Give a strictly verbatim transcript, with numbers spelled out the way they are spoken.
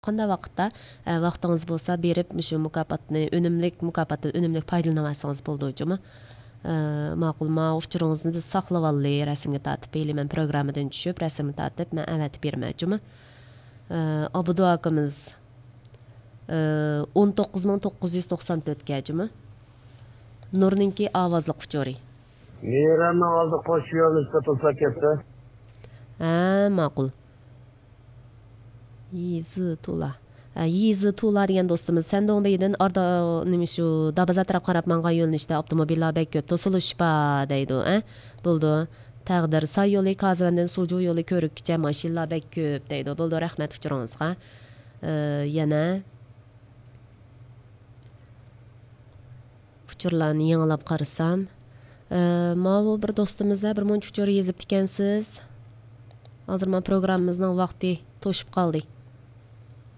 قانداق ۋاقىتتا، ئە، ۋاقتىڭىز بولسا بېرىپ مۇشۇ مۇكاپاتنى ئۈنۈملۈك، مۇكاپاتتىن ئۈنۈملۈك پايدىلىنىۋالسىڭىز بولىدۇ جۇمۇ. ئە، ماقۇل، ما ئۇچۇرىڭىزنى بىز ساقلىۋالدى، رەسىمگە تارتىپ ھېلى مەن پروگراممىدىن چۈشۈپ رەسىمگە تارتىپ مەن ئەۋەتىپ بېرىمەن جۇمۇ. ئە، ئابدۇ ئاكىمىز، ئە، ئون توققۇز مىڭ توققۇز يۈز توقسان تۆتكە جۇمۇ. نۇرنىڭكى ئاۋازلىق ئۇچۇرى. مېرەمنىڭ ئالدى قوشۇ يولنى تۇتۇلسا كەتتى. ھە، ماقۇل. يېزى تولا. ھە، يېزى تولا دېگەن دوستىمىز، سەندوڭبېيدىن ئاردا، نېمە شۇ، دابازا تەرەپ قاراپ ماڭغان يۆنىلىشتە ئاپتوموبىللار بەك كۆپ، توسۇلۇش بار دەيدۇ، ھە؟ بولىدۇ. تەقدىر، ساي يولى، كازىۋەندىن سۇجۇ يولى كۆۋرۈككىچە ماشىنىلار بەك كۆپ دەيدۇ. بولىدۇ، رەھمەت ئۇچۇرىڭىزغا. ئە، يەنە ئۇچۇرلارنى يېڭىلاپ قارىسام، ئە، ماۋۇ بىر دوستىمىز بىر مۇنچە ئۇچۇر يېزىپتىكەنسىز. ھازىر مانا پروگراممىمىزنىڭ ۋاقتى توشۇپ قالدى.